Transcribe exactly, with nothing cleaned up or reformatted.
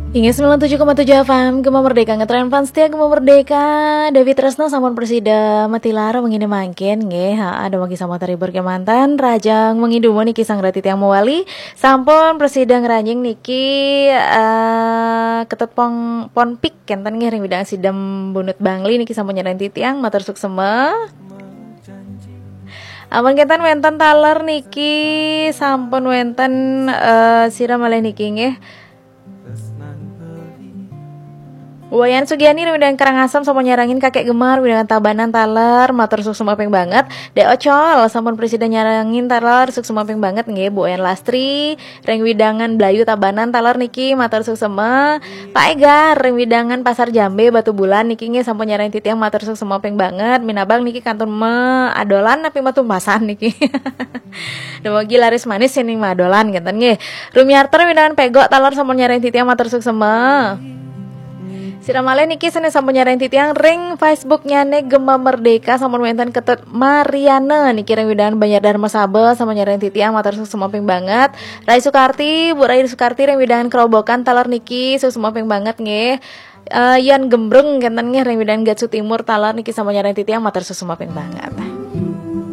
Inggih, sembilan tujuh koma tujuh F M, Gema Merdeka, ngetren fans setia Gema Merdeka. David Tresno sampun presida matilar mengini mangkin, nggih. Ha, ada lagi sama terhibur kemanten, rajang mengidumu niki sang rati tiang mewali. Sampun presida ngeranjing niki, eh, ketet pong, ponpik, kenten nggih ring widang sidem bunut Bangli niki sampun nyerahin titiang, matur suksema. Ampun kenten wenten taler niki, sampun wenten, eh, sira malih niki nggih. Wayan Sugiani ring widang Karangasem sampun nyarengin Kakek Gemar, widang Tabanan taler, matur suksema ping banget. Dek Ocol sampun presida nyarengin taler, suksema ping banget nggih. Bu Wayan Lastri ring widangan Blayu Tabanan taler niki, matur suksema. Pak Egar ring widangan Pasar Jambe Batu Bulan niki nggih sampun nyarengin titiang, matur suksema ping banget. Minabang niki kantun me adolan napi matumpasan niki. Dumugi laris manis sini madolan kenten nggih. Rumiarter widangan Pegok taler sampun nyarengin titiang, matur suksema. Sira malih niki sini sampun nyarengin titiang ring Facebooknya ne Gema Merdeka, sampun wenten Ketut Mariana niki ring widangan Banjar Dharma Saba sampun nyarengin titiang, matur suksema ping banget. Rai Sukarti, Bu Rai Sukarti ring widangan Kerobokan taler niki suksema ping banget nggih. Eh, Yan Gembrung kenten nggih ring widangan Gatsu Timur taler niki sampun nyarengin titiang, matur suksema ping banget.